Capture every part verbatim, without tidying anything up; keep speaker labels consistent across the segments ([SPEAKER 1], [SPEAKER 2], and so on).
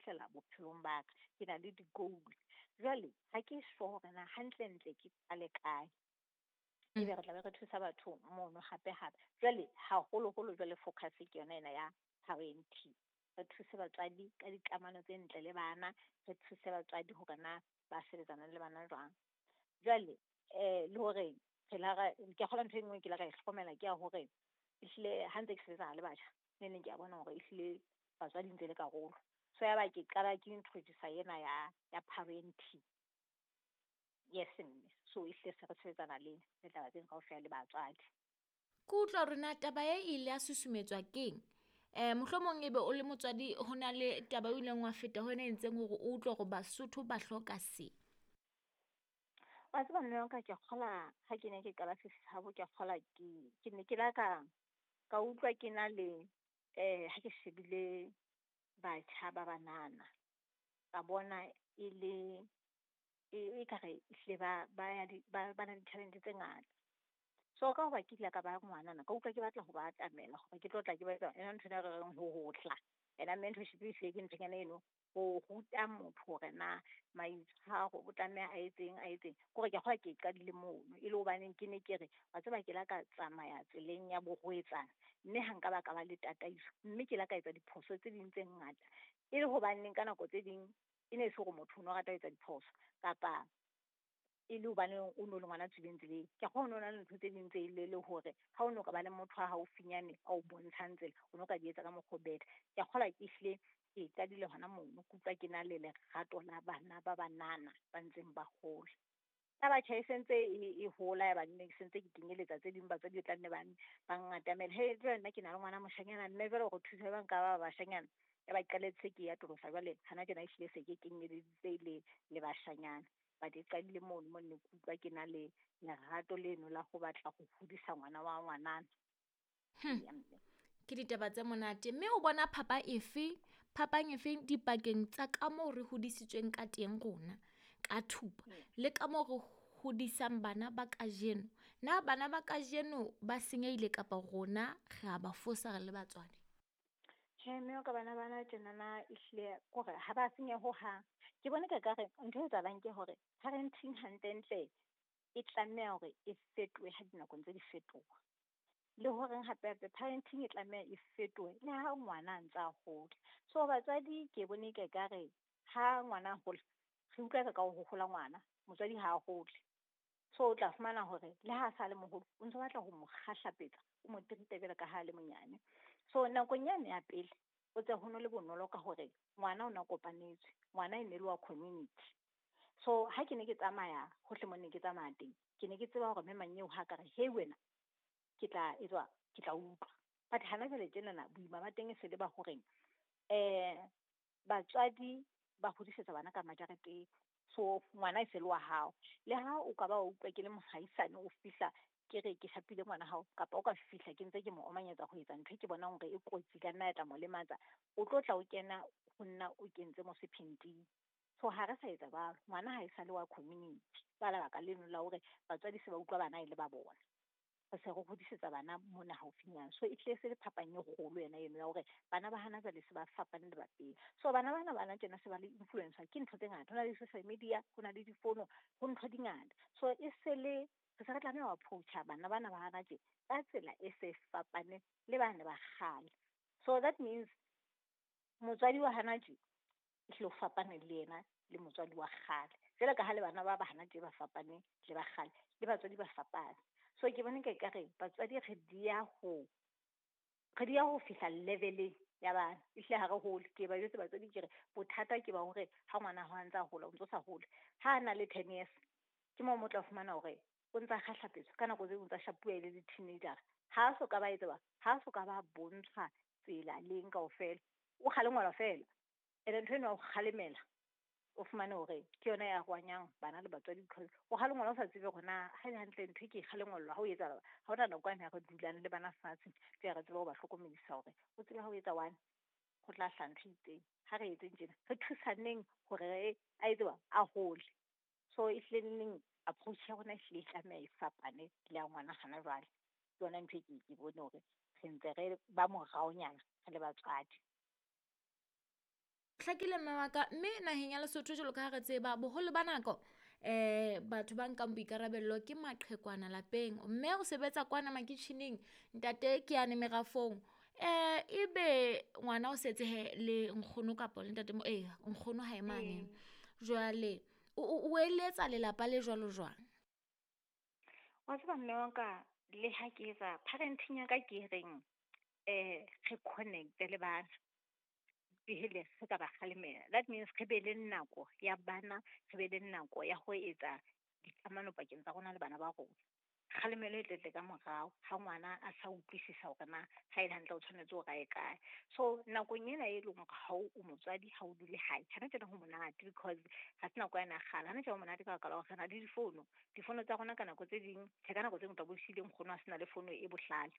[SPEAKER 1] fihlela bophelong ba ka. Ke na le di-goal. Jwale ha ke sure hore na hantlentle ke qale kae. Ebe re tlabe re thusa batho mono hape hape. Jwale haholoholo jwale focus ke yona ena ya parenting. Re thuse batswadi ka dikamano tse ntle le bana, re thuse batswadi hore na ba sebetsana le bana jwang. Jwale eh le hore re la ra ke kgolwa ntho e nngwe ke la ka e hlokomela ke ya hore ehlile ha ntse ke sebetsana le batjha, ne neng ke a bona hore ehlile batswadi ntse le karolo. So ya ba ke qala ke introduce ena ya ya parenting. Yes mme, so ehlile se re sebetsana le le taba tseno kaofela le batswadi.
[SPEAKER 2] Ke utlwa hore na taba e ile ya susumetswa keng? Eh mohlomong ebe o le motswadi ho na le taba o ileng wa feta ho yona e entseng hore o utlwe hore Basotho ba hloka se.
[SPEAKER 1] Wa tseba mme wa ka ke kgola ha ke ne ke qala Fifi Hub, ke kgola ke ke ne ke la ka ka utlwa ke na le eh ha ke shebile batjha ba banana, ka bona e le e e kare ehlile ba ba ya di ba ba na le talent tse ngata. So ka hoba ke ile ka ba ngwanana, ka utlwa ke batla ho ba atamela hore ke tlo tla ke ba etsa yona ntho ena re reng ho hotla. Ena mentorship ehlile ke nthonyana eno ho ruta motho hore na maitshwaro o tlameha a etseng a etseng. Ke hore ke a kgolwa ke qadile mono e le hobaneng ke ne ke re wa tseba ke la ka tsamaya tseleng ya borwetsana, mme ha nka ba ka ba le tataiso, mme ke la ka etsa diphoso tse ding tse ngata. E le hobaneng ka nako tse ding e ne se hore motho o no rata ho etsa diphoso kapa e le hobaneng o no le ngwana tswileng tseleng. Ke a kgolwa ho no na le ntho tse ding tse ile le hore ha o no ka ba le motho wa haufinyane ao bontshang tsela, o no ka di etsa ka mokgwa o better. Ke a kgolwa ke hlile ke qadile hona mono, ke utlwa ke na le lerato la bana ba banana ba ntseng ba hola. Ya batjha e sentse e e hola ya ba nne ke sentse ke kenyeletsa tse ding batswadi e tla nne ba ba ngatamela. He jwale nna ke na le ngwana moshanyana mme jwale hore thusa jwang ka ba bashanyana. Ya ba qaletse ke atolosa jwale hana tjena ehlile se ke kenyeleditse le le bashanyana. But e qadile mono mo ne ke utlwa ke na le lerato leno la ho batla ho hodisa ngwana wa ngwanana.
[SPEAKER 2] Hmm.
[SPEAKER 1] Ya mme.
[SPEAKER 2] Ke ditaba tse monate. Mme o bona phapa efe, phapang efe dipakeng tsa ka moo re hodisitsweng ka teng rona ka thupa
[SPEAKER 1] Hmm.
[SPEAKER 2] le ka moo re hodisang bana ba kajeno? Na bana ba kajeno ba senyehile kapa rona re a ba fosa re le batswadi?
[SPEAKER 1] Tjhe, mme wa ka bana bana tjenana ehlile kore ha ba senyeha hohang. Ke bona ka kare ntho e etsahalang ke hore parenting hantlentle e tlameha hore e fetohe ha dinako ntse di fetoha. Le horeng hape hape parenting e tlameha e fetohe le ha ngwana a ntsa hola. So batswadi ke bone ke ekare ha ngwana a hola, re utlwa ka ho hola ngwana, motswadi ha a hole. So o tla fumana hore le ha sa le moholo, o ntso batla ho mo kgahlapetsa, o mo treat-e jwalo ka ha le monyane. So nakong yane ya pele, o tse ho no le bonolo ka hore ngwana o na kopanetswe, ngwana e ne le wa community. So ha ke ne ke tsamaya hohle mo ne ke tsamaya teng, ke ne ke tseba hore mme manyeo ha ka re, "Hey wena, ke tla etswa, ke tla utlwa." But hana jwale tjenana boima ba teng e se le ba horeng eh batswadi ba hodisetsa bana ka majareteng. So ngwana e se le wa hao. Le ha o ka ba wa utlwa ke le mohaisane o fihla ke re ke shapile ngwana hao, kapa o ka fihla ke ntse ke mo omanyetsa ho etsa ntho e ke bonang hore e kotsi ka nna ya tla mo lematsa, o tlo tla o kena ho nna o kentse mo sephenting. So ha re sa etsa jwalo, ngwana ha e sa le wa community. Ka lebaka leno la hore batswadi se ba utlwa bana e le ba bona. Re se re hodisetsa bana mona haufinyana. So e hlile se le phapang e kgolo yena eno ya hore bana ba hana jwale se ba fapane le ba pele. So bana bana bana tjena se ba le influence ke ntho tse ngata. Ho na le social media, ho na le difono, ho ntho di ngata. So e se le re se re tlameha ho approach-a bana bana ba hana tje ka tsela e se fapane le bane ba kgale. So that means motswadi wa hana tje ehlile o fapane le yena le motswadi wa kgale. Jwalo ka ha le bana ba ba hana tje ba fapane le ba kgale, le batswadi ba fapane. So ke bona ke ekare batswadi re dia ho re dia ho fihla level-eng ya bana. Ehlile ha re hole, ke ba jwetse batswadi ke re bothata ke ba hore ha ngwana hao a ntsa hola, o ntso sa hole. Ha a na le ten years, ke moo mo tla fumana hore o ntsa kgahlapetswa ka nako tse ding o ntsa shapuwa e le di-teenager. Ha a so ka ba etsa, ha so ka ba bontshwa tsela leng kaofela. O kgalengwelwa feela. Ene ntho eno ya ho kgalemela, o fumane hore ke yona ya rwanyang bana le batswadi because o kgalengwelwa o sa tsebe hore na ha ele hantle ntho e ke e kgalengwelwa ha o etsahala. Ha hona nako yane ya re dulang le bana fatshe, ke re tsebe ho ba hlokomedisa hore o tsebe ha o etsa one, ho tla hlaha ntho e itseng. Ha re etseng tjena, re thusaneng hore re a etse a hole. So ehlile neng approach ya rona ehlile e tlameha e fapane le ya ngwana hana jwale. Ke yona ntho e ke ke bone hore re ntse re ba moraonyana re le batswadi.
[SPEAKER 2] Hlakile mme wa ka, mme naheng ya Lesotho jwalo ka ha re tseba boholo ba nako eh batho ba nkang boikarabello ke maqhekwana lapeng, mme o sebetsa kwana makitjheneng, ntate ke yane merafong. Eh ebe ngwana o setse he le nkgono kapa le ntate, eh nkgono hae mane. Jwale o o eletsa lelapa le jwalo jwang?
[SPEAKER 1] Wa tseba mme wa ka, le ha ke etsa parenting ya ka ke reng eh re connect-e le bana pele re ka ba kgalemela. That means re be le nako ya bana, re be le nako ya ho etsa dikamano pakeng tsa rona le bana ba rona. Kgalemelo e tletle ka morao ha ngwana a sa utlwisisa hore na ha ele hantle o tshwanetse hore a ye kae. So nakong ena e leng hore ha o motswadi ha o dule hae, hana tjena ho monate because ha se nako yane ya kgale. Hana tjena ho monate ka baka la hore re na le difono, difono tsa rona ka nako tse ding, tjhe ka nako tse ding o tla bo siile nkgono a sena le fono e bohlale.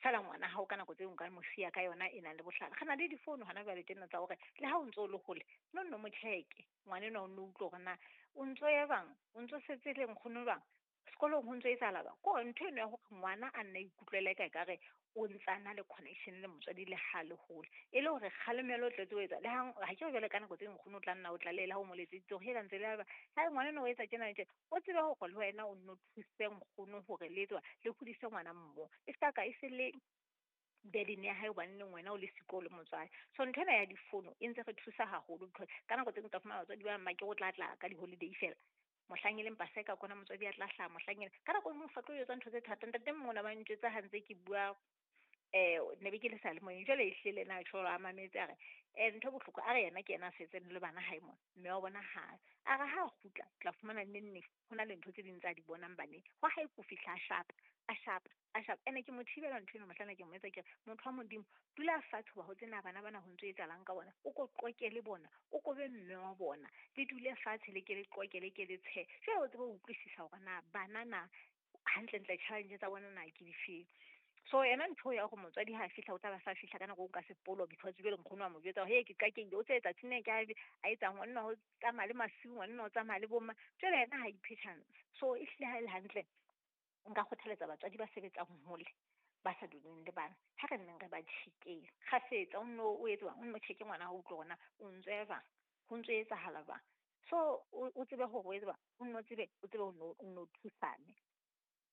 [SPEAKER 1] Feela ngwana hao ka nako tse ding o ka mo siya ka yona e nang le bohlale. Re na le difono hona jwale tjena tsa hore le ha o ntso le hole, no nno mo check-e ngwana enwa o nno utlwe hore na o ntso ya jwang, o ntso setse le nkgono jwang, sekolong ho ntso etsahala jwang. Ke hore ntho eno ya hore ngwana a nna ikutlwela eka ekare o ntsa na le connection le motswadi le ha le hole, e le hore kgalemelo o tletse ho etsa le ha ha ke re jwale ka nako tse ding nkgono o tla nna o tlalehela ha o mo letseditse hore hela ntse le ha ngwana enwa o etsa tjena le tjena, o tsebe hore le wena o nno thuse nkgono hore le etswa le hodise ngwana mmoho. E ska ka e se le burden ya hae hobaneng wena o le siko le motswadi. So nthwena ya difono e ntse re thusa haholo because ka nako tse ding o tla fumana batswadi ba bang ba ke o tla tla ka di-holiday fela. Mohlang e leng paseka kona motswadi a tla hlaha, mohlang ena ka nako e nngwe o sa tlo etsa ntho tse thata. Ntate mona ba ntjwetsa ha ntse ke bua eh ne be ke le seyalemoyeng, jwale ehlile le ena a tjho a mametse a re eh ntho e bohloko a re yena ke yena a setseng le bana hae mona, mme wa bona ha a re ha kgutla tla fumana neng neng ho na le ntho tse ding tsa di bonang baneng. Hwa hae ko fihla a shapa, a shapa, a shapa. Ene ke mo thibela ntho eno mohlanna ke mo etsa ke re motho wa Modimo dula fatshe hoba ho tsena bana bana ho ntso etsahalang ka bona, o ko qoqe le bona, o ko be mme wa bona, le dule fatshe le ke le qoqe le ke le tshehe. Jwale o tsebe ho utlwisisa hore na bana na hantlentle challenge tsa bona na ke difeng. So yena ntho ya hore motswadi ha fihla o tla ba sa fihla ka nako o nka sepolo because jwale nkgono wa mo jwetsa hore ke qakehile, o tse tsatsing le ke a etsang ngwanenwa ho tsamaya le masiu, ngwanenwa o tsamaya le bomma. Jwale yena ha iphe chance. So ehlile ha ele hantle nka kgothaletsa batswadi ba sebetsang hole ba sa duleng le bana, ha re nneng re ba check-eng kgafetsa, o nno o etse o nno check-e ngwana hao, utlwe hore na o ntso ya jwang, ho ntso etsahala jwang. So o tsebe hore o etse jwang, o nno tsebe o tsebe o nno o nno thusane.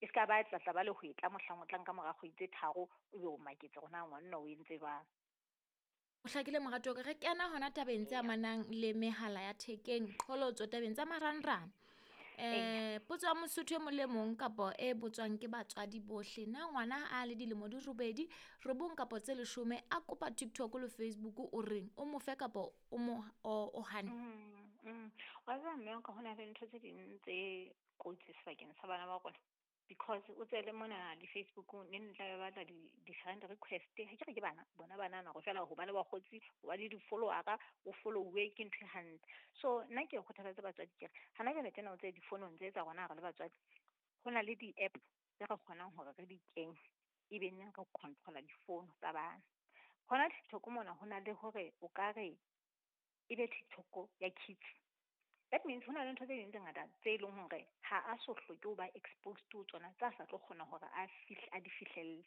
[SPEAKER 1] E ska ba tla tla ba le hwetla mohlang o tlang ka mora kgwedi tse tharo, o be o maketse hore na ngwanenwa o entse jwang.
[SPEAKER 2] O hlakile morato wa ka, re kena hona tabeng tse amanang le mehala ya thekeng, qholotso tabeng tsa marangrang. Eh potso ya Mosotho e mong le mong kapa e botswang ke batswadi bohle, na ngwana a le dilemo di robedi, robong kapa tse leshome a kopa TikTok le Facebook o reng o mo fe kapa o mo o hane?
[SPEAKER 1] Mm, mm. Wa tseba mme wa ka, hona le ntho tse ding tse kotsi sebakeng sa bana ba rona. Because o tsele mona di Facebookong ne ntla ba batla di di-friend request. Ha ke re ke bana bona banana hore feela ho ba le bakgotsi, ho ba le di-follower-a, o follow-uwe ke ntho e hantle. So nna ke kgothaletsa batswadi ke re hana jwale tjena o tse difonong tse tsa rona ha re le batswadi, ho na le di-app tse re kgonang hore re di kenye ebe neng re control-a difono tsa bana. Hona TikTok mona ho na le hore o ka re ebe TikTok ya kids. That means ho na le ntho tse ding tse ngata tse leng hore ha a so hloke ho ba exposed to tsona, tsa sa tlo kgona hore a fihle a di fihlelle.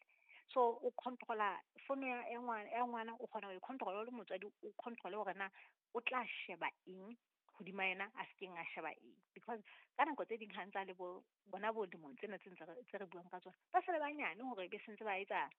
[SPEAKER 1] So o control-a fono ya ya ngwana ya ngwana, o kgona ho e control-a o le motswadi, o control-e hore na o tla sheba eng hodima yena a se keng a sheba eng. Because ka nako tse ding ha ntsa le bo bona bo dilemong tsena tse ntse tse re buang ka tsona, ba sa le banyane hore be sentse ba etsa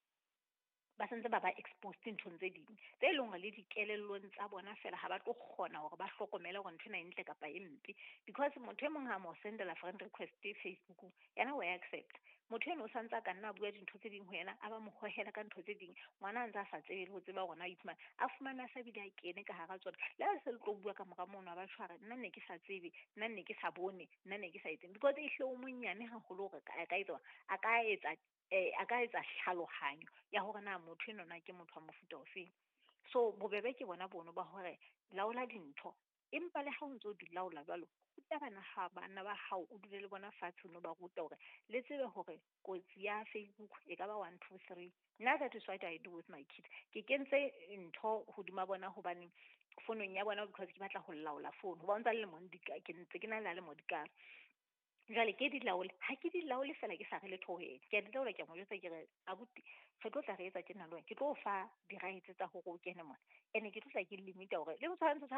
[SPEAKER 1] ba sentse ba ba exposed nthong tse ding tse leng hore le dikelellong tsa bona feela ha ba tlo kgona hore ba hlokomele hore ntho ena e ntle kapa e mpe. Because motho e mong ha mo sendela friend request Facebookong, yena o ya accept. Motho eno o santse a ka nna a bua dintho tse ding ho yena, a ba mo hohela ka ntho tse ding. Ngwana a ntse a sa tsebe le ho tseba hore na o iphumana a fumana a sa bile a kene ka hara tsona. Le ha se le tlo bua ka mora mono, a ba tjho a re nna ne ke sa tsebe, nna ne ke sa bone, nna ne ke sa etseng. Because ehlile o monyane haholo hore a ka etsa a ka etsa eh a ka etsa tlhalohanyo ya hore na motho enwa na ke motho wa mofuta ofeng. So bobebe ke bona bono ba hore laola dintho, empa le ha o ntso di laola jwalo, ruta bana ha bana ba hao, o dule le bona fatshe, o no ba ruta hore le tsebe hore kotsi ya Facebook e ka ba one two three. Nna that is what I do with my kids. Ke kentse ntho hodima bona hobane fonong ya bona because ke batla ho laola phone. Hoba o ntsa le lemo di ka, ke ntse ke na le lemo di ka. Jwale ke di laole, ha ke di laole fela ke sa re letho ho yena. Ke a di laola, ke a mo jwetsa ke re abuti re tlo tla re etsa tjena le wena. Ke tlo o fa di-rights tsa hore o kene mona. Ene ke tlo tla ke limit-a hore le tshwantsho tshwana.